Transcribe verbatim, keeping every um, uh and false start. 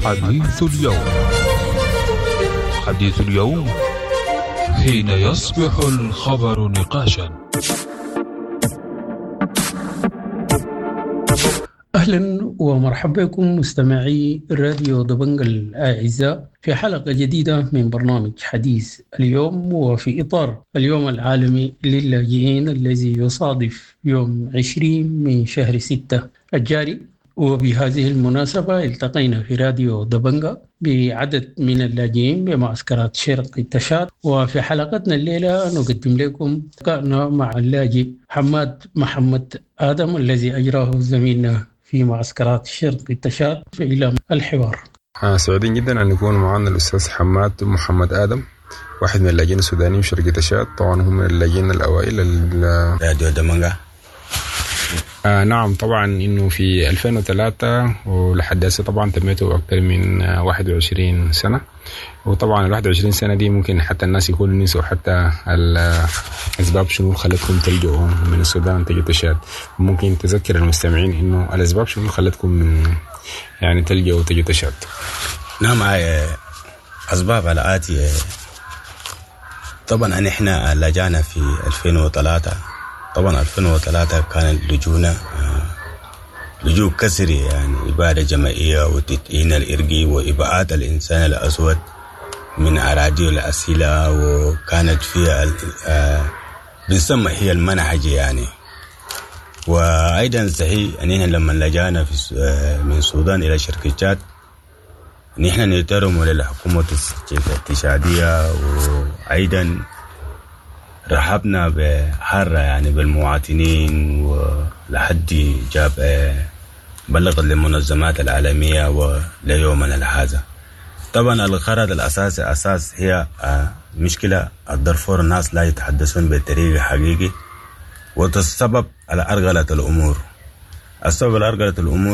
حديث اليوم. حديث اليوم حين يصبح الخبر نقاشا. أهلا ومرحبا بكم مستمعي راديو دبنج الأعزاء في حلقة جديدة من برنامج حديث اليوم، وفي إطار اليوم العالمي للاجئين الذي يصادف يوم عشرين من شهر ستة الجاري. وبهذه المناسبة التقينا في راديو دبنجا بعدد من اللاجئين بمعسكرات شرق تشاد، وفي حلقتنا الليلة نقدم لكم لقاءنا مع اللاجئ حماد محمد آدم الذي أجراه زميلنا في معسكرات شرق تشاد. إلى الحوار. آه، سعيدين جدا أن يكون معنا الأستاذ حماد محمد آدم، واحد من اللاجئين السودانيين في شرق تشاد. طبعا هم من اللاجئين الأوائل ال- راديو دمنجا. آه نعم، طبعا انه في ألفين وثلاثة ولحد هسه طبعا تميته اكثر من واحد وعشرين سنة، وطبعا ال واحد وعشرين سنة دي ممكن حتى الناس يكونوا نسوا حتى الاسباب شنو خلتكم تلجؤوا من السودان تجوا تشاد. ممكن تذكر المستمعين انه الاسباب شنو خلتكم من يعني تلجؤوا تجوا تشاد؟ نعم، آه، اسباب الاتي. طبعا نحن لجانا في ألفين وثلاثة. طبعا ألفين وثلاثة كان لجونا، آه، لجوء كسري، يعني إبادة جماعية وتدعين الإرقي وإبعاد الإنسان الأسود من أراضي الأسيلة، وكانت فيها ال-، آه، بنسمى هي المنهج يعني. وأيضا صحيح أننا لما لجانا في الس-، آه، من السودان إلى شرق تشاد نحن نترم للحكومة التشادية، وأيضا رحبنا بحارة يعني بالمواطنين، ولحد جاب، آه، بلغت للمنظمات العالمية وليومنا هذا. طبعا الغرض الأساسي أساس هي، آه، مشكلة الدارفور، الناس لا يتحدثون بطريقة حقيقي، والسبب على أرغلة الأمور. السبب على أرغلة الأمور